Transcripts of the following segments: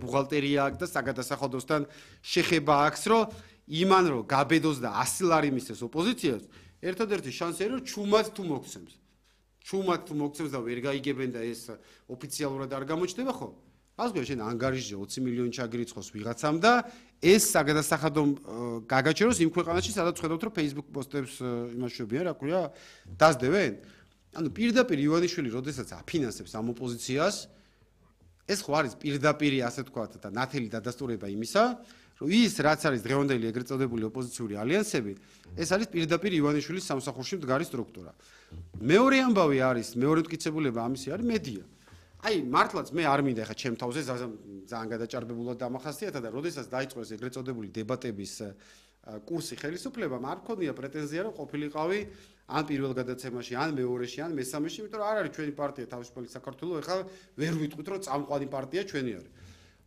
ბუღალტერია აქვს და საგადასახადოსთან შეხება აქვს, რომ იმან რომ გაბედოს და 100 ლარი მისცეს ოპოზიციას, ერთადერთი შანსია რომ ჩუმად თუ მოგცემს. ჩუმად თუ მოგცემს და ვერ გაიგებენ და ეს ოფიციალურად არ გამოჩნდება ხო? ასგო შენ ანგარიშზე 20 მილიონი ჩაგირიცხოს ვიღაცამ და ეს საგადასახადო გაგაჩეროს იმ ქვეყანაში, სადაც ხედავთ რომ Facebook პოსტებს იმაშვებიან, რა ქვია, დასდევენ. ანუ პირდაპირ ივანიშვილი როდესაც აფინანსებს ამ ოპოზიციას, ეს ხო არის პირდაპირი ასე თქვათ და ნათელი დადასტურება იმისა, რომ ის რაც არის დღევანდელი ეგრეთ წოდებული ოპოზიციური ალიანსები, ეს არის პირდაპირ ივანიშვილის სამსახურში მდგარი სტრუქტურა. მეორე ამბავი არის, მეორე მტკიცებულება ამისი არის მედია. აი, მართლაც მე არ მინდა ხა ჩემ თავზე ძალიან გადაჭარბებულად დამახასიათა და როდესაც დაიწყო ეს ეგრეთ წოდებული დებატების კურსი ხელისუფლებამ, არ მქონია პრეტენზია, რომ ყოფილიყავი ან პირველ გადაცემაში, ან მეორეში, ან მესამეში, იმიტომ რომ არ არის ჩვენი პარტია თავისუფალი საქართველოს, ეხლა ვერ ვიტყვით, რომ წამყვანი პარტია ჩვენი არის.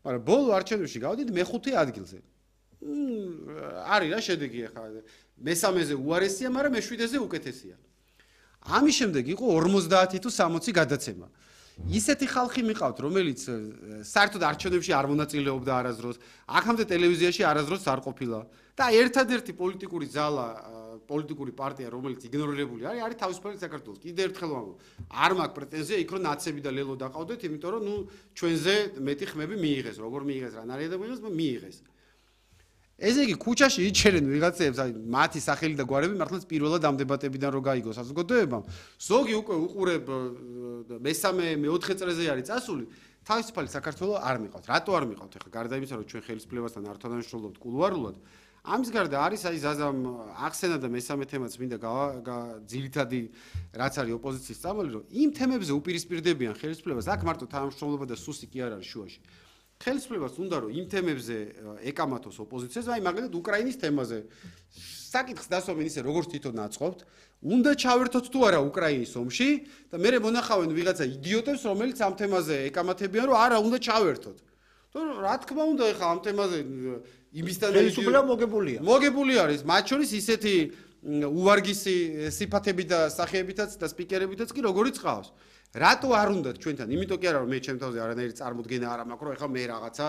მაგრამ ბოლო არჩევნებში გავდით მეხუთე ადგილზე. არის რა შედეგი ეხლა მესამეზე უარესია, მაგრამ მეშვიდეზე უკეთესია. ამის შემდეგ იყო 50 თუ 60 გადაცემა. ისეთი ხალხი მიყავთ, რომელიც საერთოდ არჩევნებში არ მონაწილეობდა არასდროს, აქამდე ტელევიზიაში არასდროს არ ყოფილა და ერთადერთი პოლიტიკური ძალა, პოლიტიკური პარტია, რომელიც იგნორირებული არის თავისუფალი საქართველოს. კიდევ ერთხელ ვამბობ, არ მაქვს პრეტენზია იქ რომ ნაცები და ლელო დაყავდეთ, იმიტომ რომ ჩვენზე მეტი ხმები მიიღეს, როგორ მიიღეს, რა ნარიადები მიიღეს. ესე იგი, ქუჩაში იჩერენ ვიღაცებს, აი მათი სახელი და გვარები მართლაც პირველად ამ დებატებიდან რო გაიგოს საზოგადოებამ. ზოგი უკვე უყურებ მესამე, მეოთხე წრეზე არის წასული, თავისუფალი საქართველოს არ მიყავთ. რატო არ მიყავთ? ეხლა გარდა იმისა, რომ ჩვენ ხელისუფლებასთან არ თანამშრომლობთ კულუარულად, ამის გარდა არის აი ზაზამ ახსენა და მესამე თემაც მინდა ძირითადი რაც არის ოპოზიციის წამალი, რომ იმ თემებზე უპირისპირდებიან ხელისუფლებას, აქ მარტო თანამშრომლობა და სუსი კი არ არის შუაში. ხელისუფლებას უნდა რომ იმ თემებზე ეკამათოს ოპოზიციას, აი მაგალითად უკრაინის თემაზე საკითხს დასვამენ ისე როგორც თვითონ აწყობთ, უნდა ჩავერთოთ თუ არა უკრაინის ომში და მე მონახავენ ვიღაცა იდიოტებს, რომელიც ამ თემაზე ეკამათებიან, რომ არა უნდა ჩავერთოთ. თორემ რა თქმა უნდა ეხა ამ თემაზე იმისთან ხელისუფლება მოგებულია. მოგებული არის, მათ შორის ისეთი უვარგისი სიფათები და სახეებითაც და სპიკერებითაც კი როგორიც ყავს. რატო არ უნდათ ჩვენთან? იმიტომ კი არა რომ მე ჩემ თავზე არანაირი წარმოდგენა არ მაქვს, რომ ეხლა მე რაღაცა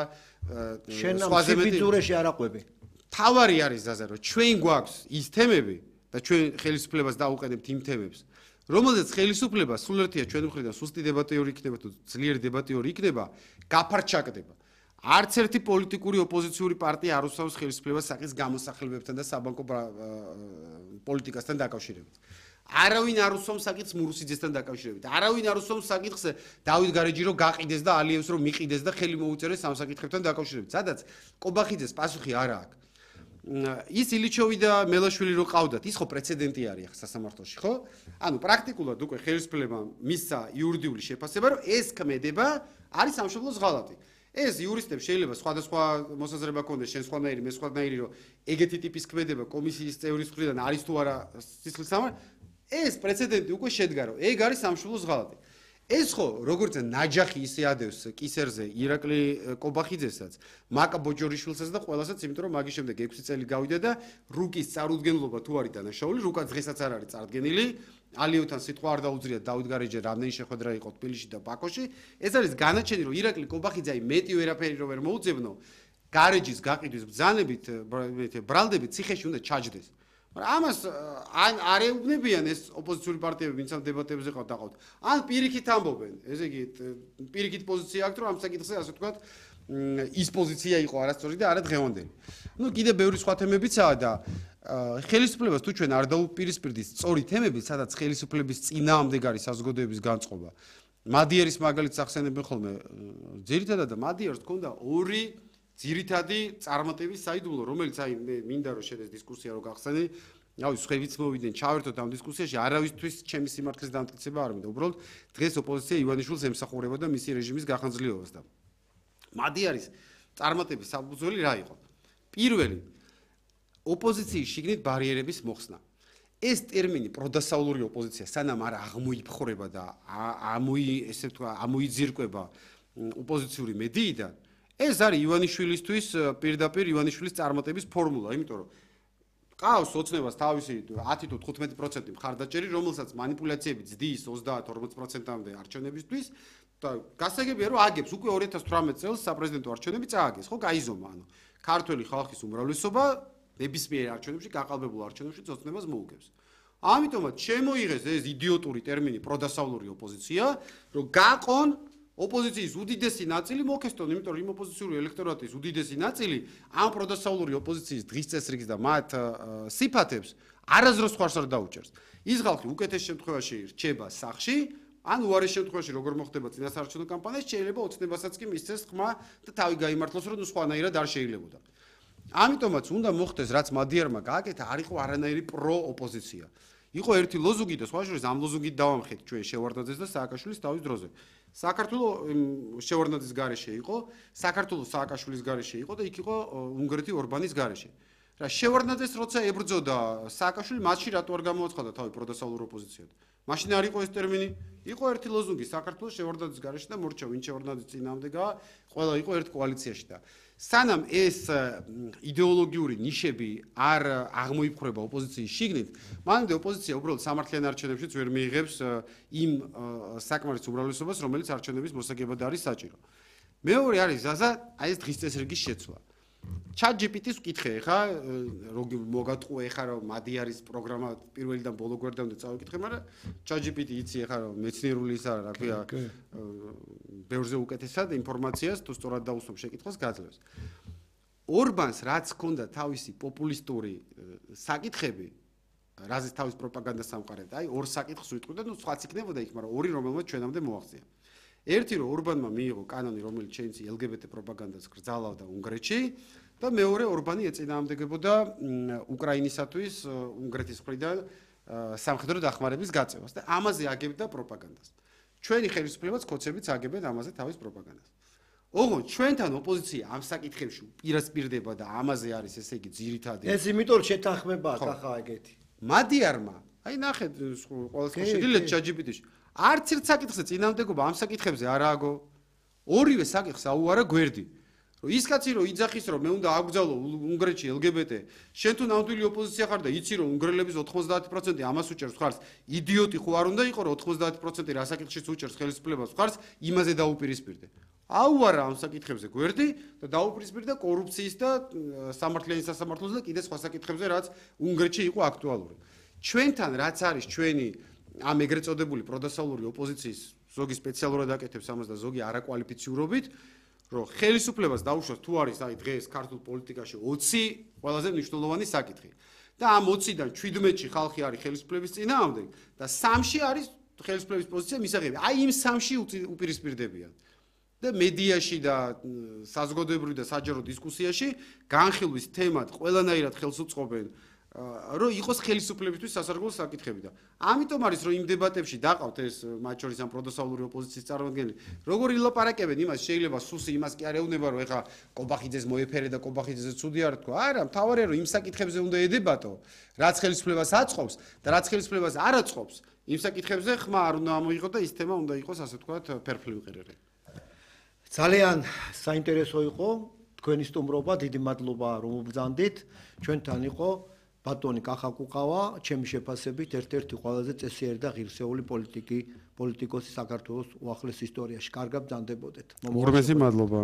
სხვაზე მეტი არ აყვები. თავარი არის ზაზა, რომ ჩვენ გვაქვს ის თემები და ჩვენ ხელისუფლებას დაუყენებთ იმ თემებს, რომელზეც ხელისუფლება სულ ერთია ჩვენი მხრიდან სუსტი დებატიორი იქნება თუ ძლიერი დებატიორი იქნება, გაფარჩაკდება. არც ერთი პოლიტიკური ოპოზიციური პარტია არ უსვამს ხელისუფლებას საკითხის გამოსახელებებთან და საბანკო პოლიტიკასთან დაკავშირებით. არავინ არ უსვამს საკითხს მურუსიძესთან დაკავშირებით. არავინ არ უსვამს საკითხს დავით გარეჯირო გაყიდეს და ალიევს რომ მიყიდეს და ხელი მოუწერეს ამ საკითხებთან დაკავშირებით. სადაც კობახიძეს პასუხი არ აქვს. ის ილიჩოვი და მელაშვილი რო ყავდათ, ის ხო პრეცედენტი არის ახლა სასამართლოში, ხო? ანუ პრაქტიკულად უკვე ხელისუფლებამ მისცა იურიდიული შეფასება, რომ ეს ქმედება არის სამშობლოს ღალატი. ეს იურისტებს შეიძლება სხვადასხვა მოსაზრება ქონდეს, შენ სხვანაირი, მე სხვანაირი, რომ ეგეთი ტიპის ქმედება კომისიის წევრის მხრიდან არის თუ არა სისხლისამარ, ეს პრეცედენტი უკვე შედგა, რომ ეგ არის სამშობლოს ღალატი. ეს ხო, როგორც ნაჯახი ისე ადევს კისერზე ირაკლი კობახიძესაც, მაკა ბოჯორიშვილსაც და ყველასაც, იმიტომ რომ მაგის შემდეგ 6 წელი გავიდა და რუკის წარუდგენლობა თუ არის დანაშაული, რუკა დღესაც არ არის წარდგენილი. ალიევთან სიტყვა არ დაუძრია დავით გარეჯე რამდენი შეხვედრა იყო თბილისში და ბაქოში. ეს არის განაჩენი, რომ ირაკლი კობახიძე მეტი ვერაფერი რო ვერ მოუძებნო, გარეჯის გაყიდვის ბრძანებით, ბრალდებით ციხეში უნდა ჩაჯდეს. მაგრამ ამას ან არ ეუბნებიან ეს ოპოზიციური პარტიები, ვინც ამ დებატებზე ყავთ. ან პირიქით ამბობენ. ესე იგი, პირიქით პოზიცია აქვს, რომ ამ საკითხზე ასე ვთქვათ, ის პოზიცია იყო არასწორი და არა დღევანდელი. ნუ კიდე ბევრი სხვა თემებიცაა და ხელისუფლებას თუ ჩვენ არ დაუპირისპირდით სწორი თემებით, სადაც ხელისუფლების წინააღმდეგ არის საზოგადოების განწყობა. მადიერის მაგალითს ახსენებენ ხოლმე. ძირითადად მადიერს ჰქონდა ორი ძირითადი წარმატების საიდუმლო, რომელიც აი მე მინდა რომ შენ ეს დისკუსია რო გახსენე, აი სხვებიც მოვიდნენ, ჩავერთოთ ამ დისკუსიაში, არავისთვის ჩემი სიმართლის დამტკიცება არ მინდა. უბრალოდ დღეს ოპოზიცია ივანიშვილს ემსახურებოდა მისი რეჟიმის გახანძლიერებას და მადიერის წარმატების საფუძველი რა იყო? პირველი ოპოზიციის შიგნით ბარიერების მოხსნა. ეს ტერმინი პროდასავლური ოპოზიცია სანამ არ აღმოიფხვრება და ესე ვთქვა, ამოიძირკვება ოპოზიციური მედიიდან, ეს არის ივანიშვილისთვის პირდაპირ ივანიშვილის წარმატების ფორმულა, იმიტომ რომ ყავს ოცნებას თავისი 10 თუ 15% მხარდაჭერი, რომელსაც манипуляციები ძდის 30-40%-მდე არჩევნებისთვის და გასაგებია რომ აგებს უკვე 2018 წელს საპრეზიდენტო არჩევნები წააგეს, ხო, გაიზომა, ანუ ქართველი ხალხის უმრავლესობა ნებისმიერ არჩევნებში, გაყალბებულ არჩევნებში ოცნებას მოუგებს. ამიტომაც შემოიღეს ეს იდიოტური ტერმინი პროდასავლური ოპოზიცია, რომ გაყონ ოპოზიციის უდიდესი ნაწილი მოქესტონ, იმიტომ რომ იმ ოპოზიციური ელექტორატის უდიდესი ნაწილი ამ პროდასავლური ოპოზიციის დღის წესრიგს და მათ სიფათებს არაზროს ხარს არ დაუჭერს. ის ხალხი უკეთეს შემთხვევაში რჩება სახში, ან უარეს შემთხვევაში როგორ მოხდება წინასაარჩევნო კამპანია, შეიძლება ოცნებასაც კი მისცეს ხმა და თავი გაიმართლოს, რომ სხვანაირად არ შეიძლებოდა. ამიტომაც უნდა მოხდეს, რაც მადიარმა გააკეთა, არ იყო არანაირი პრო-ოპოზიცია. იყო ერთი ლოზუნგი და სხვა შორის ამ ლოზუნგით დავამხეთ ჩვენ შევარდნაძეს და სააკაშვილის თავის დროზე. საქართველოს შევარდნაძის გარეშე იყო, საქართველოს სააკაშვილის გარეშე იყო და იქ იყო უნგრეთი ორბანის გარეშე. რა შევარდნაძეს როცა ებრძოდა სააკაშვილი, მათში რატო არ გამოაცხადა თავი პროდასავლურ ოპოზიციად? მაშინ არ იყო ეს ტერმინი? იყო ერთი ლოზუნგი საქართველოს შევარდნაძის გარეშე და მორჩა ვინ შევარდნაძის წინააღმდეგა, ყველა იყო ერთ კოალიციაში და სანამ ეს იდეოლოგიური ნიშები არ აღმოიფხვრება ოპოზიციის შიგნით, მანამდე ოპოზიცია უბრალოდ სამართლიან არჩევნებშიც ვერ მიიღებს იმ საკმარის უმრავლესობას, რომელიც არჩევნების მოსაგებად არის საჭირო. მეორე არის ზაზა, აი ეს დღის წესრიგის შეცვლა. ChatGPT-ს ვკითხე ხა, როგორ მოგატყუე ხა რომ მადიარის პროგრამა პირველიდან ბოლო გვერდამდე წავიკითხე, მაგრამ ChatGPT იცი ხა რომ მეცნიერული ის არა, რა ქვია, ბევრზე უკეთესად ინფორმაციას თუ სწორად დაუსვამ შეკითხვას გაძლევს. ორბანს რაც ჰქონდა თავისი პოპულისტური საკითხები, რაზეც თავის პროპაგანდას ამყარებდა, აი ორ საკითხს ვიტყვი და ნუ სხვაც იქნებოდა იქ, მაგრამ ორი რომელმაც ჩვენამდე მოაღწია. ერთი რომ ორბანმა მიიღო კანონი, რომელიც შეიძლება LGBT პროპაგანდას გრძალავდა უნგრეთში და მეორე ორბანი ეწინააღმდეგებოდა უკრაინისათვის უნგრეთის მხრიდან სამხედრო დახმარების გაწევას და ამაზე აგებდა პროპაგანდას. ჩვენი ხელისუფლებაც კოცებიც აგებენ ამაზე თავის პროპაგანდას. ოღონდ ჩვენთან ოპოზიცია ამ საკითხებში პირასპირდება და ამაზე არის ესე იგი ძირითადი. ეს იმიტომ შეთანხმებაა ხახა ეგეთი. მადიარმა, აი ნახეთ ყოველს შედილეთ ChatGPT-ში. არც ერთ საკითხზე წინააღმდეგობა ამ საკითხებზე არ ააგო. ორივე საკითხს აუარა გვერდი. რომ ის კაცი რომ იძახის რომ მე უნდა აგბრძალო უნგრეთში LGBT, შენ თუ ნამდვილი ოპოზიცია ხარ და იცი რომ უნგრელების 90% ამას უჭერს ხარს, იდიოტი ხო არ უნდა იყო რომ 90% რა საკითხშიც უჭერს ხელისუფლებას ხარს, იმაზე დაუპირისპირდე. აუარა ამ საკითხებზე გვერდი და დაუპირისპირდა კორუფციის და სამართლიანი სასამართლოს და კიდე სხვა საკითხებზე, რაც უნგრეთში იყო აქტუალური. ჩვენთან რაც არის ჩვენი ამ ეგრეთ წოდებული პროდასავლური ოპოზიციის ზოგი სპეციალურად აკეთებს ამას და ზოგი არაკვალიფიციურობით, რომ ხელისუფლებას დაუშვას თუ არის აი დღეს ქართულ პოლიტიკაში 20 ყველაზე მნიშვნელოვანი საკითხი. და ამ 20-დან 17-ში ხალხი არის ხელისუფლების წინააღმდეგ და 3-ში არის ხელისუფლების პოზიცია მისაღები. აი იმ 3-ში უპირისპირდებიან. და მედიაში და საზოგადოებრივ და საჯარო დისკუსიაში განხილვის თემად ყველანაირად ხელს უწყობენ რომ იყოს ხელისუფლებისთვის სასარგებლო საკითხები და ამიტომ არის რომ იმ დებატებში დაყავთ ეს მათ შორის ამ პროდასავლური ოპოზიციის წარმომადგენლები როგორ ილაპარაკებენ იმას შეიძლება სუსი იმას კი არ ეუბნება რომ ეხა კობახიძეს მოეფერე და კობახიძეზე ცუდი არ თქვა არა მთავარია რომ იმ საკითხებზე უნდა ედებატო რაც ხელისუფლებას აწყობს და რაც ხელისუფლებას არ აწყობს იმ საკითხებზე ხმა არ უნდა ამოიღო და ის თემა უნდა იყოს ასე ვთქვათ ფერფლი ვიყერერე ძალიან საინტერესო იყო თქვენი სტუმრობა დიდი მადლობა რომ უბრძანდით ჩვენთან იყო ბატონი კახაკუყავა, ჩემი შეფასებით ერთ-ერთი ყველაზე წესიერი და ღირსეული პოლიტიკოსი საქართველოს უახლეს ისტორიაში. კარგად ბრძანდებოდეთ. უღრმესი მადლობა.